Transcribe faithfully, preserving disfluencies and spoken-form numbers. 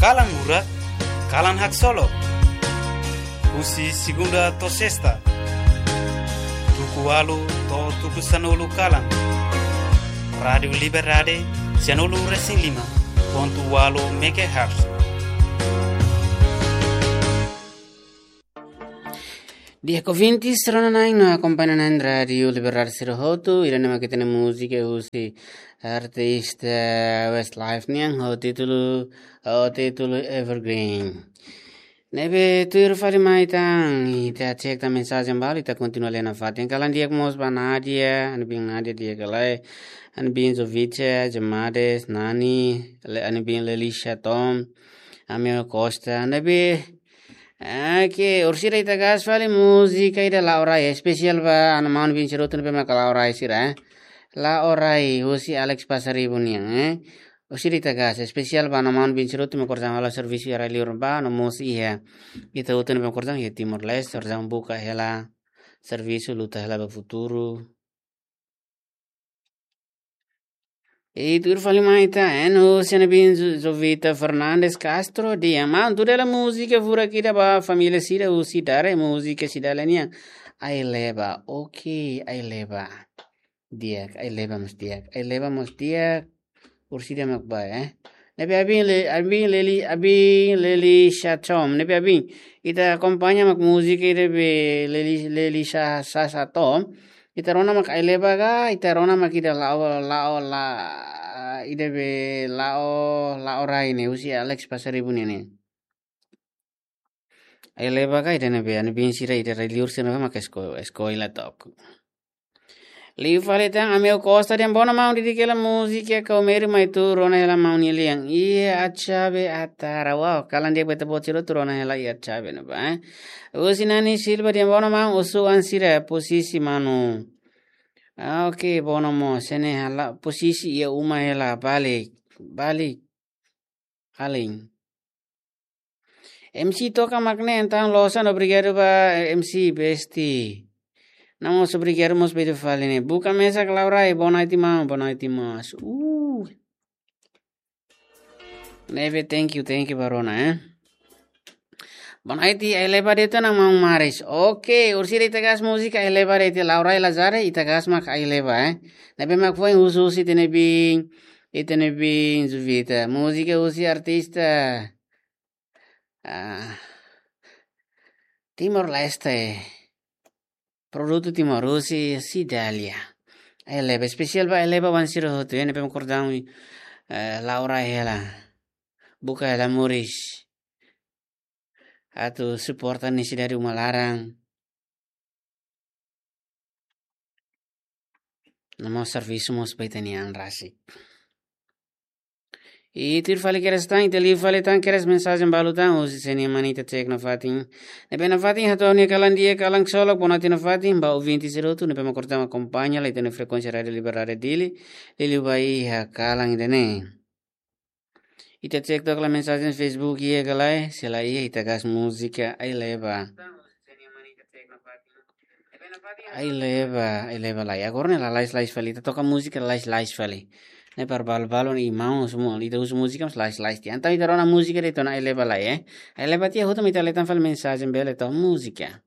Kalan Murak, kalan haksolok. Husi segunda to'o sesta, tuku ualu to'o tuku sanulu kalan. Rádiu Liberdade, sanulu resin lima pontu ualu megahertz. Di'ak ouvintes, rona-na'in no akompaña-na'in Rádiu Liberdade sira hotu, ida-ne'e mak ita-nia múzika husi artista Westlife nian, ho títulu, ho títulu Evergreen. Ne'ebé tuir fali mai tan, ita cek tan mensajen balu, ita kontinua lee nafatin. Kalan di'ak mós ba Nadia, ami-nia biin Nadia di'ak ka lae, ami-nia biin Jovica, Jemades, Nani, le, ami-nia biin Lelisha Tom, Amel Costa, ne'ebé, ah, ke, orsida ita gás fali múzika ida La'o Rai, espesiál ba ami-nia maun-biin sira hotu ne'ebé mak la'o rai sira, eh. La'o Rai, husi Alex Pasaribu nian, eh. Orsida ita gás, espesiál ba ami-nia maun-biin sira hotu mak orsida halo servisu iha rai-liur ba, no mós iha ita hotu ne'ebé mak orsida iha Timor-Leste, orsida buka hela servisu, luta hela ba futuru. I tuir fali mai tan, eh, no husi ami-nia biin Zo-, Jovita Fernandes Castro, dehan maun, tuda hela múzika furak ida ba família sira husi Dare, múzika Cidália nian. Ai-leba, oke, Ai-leba. Di'ak, Ai-leba mós di'ak. Ai-leba mós di'ak. Orsida mak ba, eh. Ne'ebé ami-nia le-, ami-nia Leli, ami-nia Lelisha Tom. Ne'ebé ami-nia, ita akompaña mak múzika ida be Leli, Lelisha, Sasha Tom. Ita rona mak Ai-leba ka, ita rona mak ida La'o, La'o, La, ida be La'o, La'o Rai ne'e, husi Alex Pasaribu ne'e. Ai-leba ka ida ne'ebé, ami-nia biin sira ida rai-liur sira ne'ebé mak esko-, eskola to'ok. Liu fali tan, Amel Costa dehan, bona maun, dedika hela múzika Kau Meri Mai Tuur, rona hela maun nia lian. Iha Atxabe Atara. Wow, kalan di'ak ba ita-boot sira hotu, rona hela iha Atxabe ne'ebá, eh. Husi Nani Silva dehan, bona maun, oso-oan sira, posisi manu. Ah, oke, bona maun, sene hela, posisi iha uma hela, balik, balik. Alin. M C toka mak ne'e, entaun loos ona, obrigadu ba M C besti. No mós obrigadu mós ba ita fali ne'e. Buka mesak La'o Rai, boa noite maun, boa noite mós. Uh. Ne'ebé, thank you, thank you ba rona, eh. Boa noite, Ai-leba de'it ona maun Maris. Oke, orsida ita gás múzika Ai-leba de'it, La'o Rai la jare, ita gás mak Ai-leba, eh. Ne'ebé mak foin husu husi ita-nia biin, ita-nia biin Jovita. Múzika husi artista, ah, Timor-Leste. Produtu Timor husi Cidália. Ai-leba, espesiál ba Ai-leba oan sira hotu, eh, ne'ebé mak orsida, eh, La'o Rai hela. Buka hela moris. Atu suporta nesesidade uma laran. No mós servisu mós ba ita-nia an rasik. I tuir fali kedas tan, ita liu fali tan kedas mensajen balu tan, husi sira-nia mane ita cek nafatin. Ne'ebé nafatin hato'o nia kalan di'ak, kalan haksolok, boa noite nafatin ba ouvinte sira hotu ne'ebé mak orsida akompaña hela ita-nia frekuénsia Rádiu Liberdade Dili, liuliu ba iha kalan ida-ne'e. Ita cek took lai mensajen Facebook iha ka lae, se la iha ita gás múzika Ai-leba. Ai-leba, Ai-leba lai. Agora ne'e lalais-lais fali, ita toka múzika lalais-lais fali. Ne'e para balu-balu no irmaun semua, ita husu múzika mós lalais-lais tiha. Entaun ita rona múzika de'it ona Ai-leba lai, eh. Ai-leba tiha hotu mak ita lee tan fali mensajen bele to'o múzika.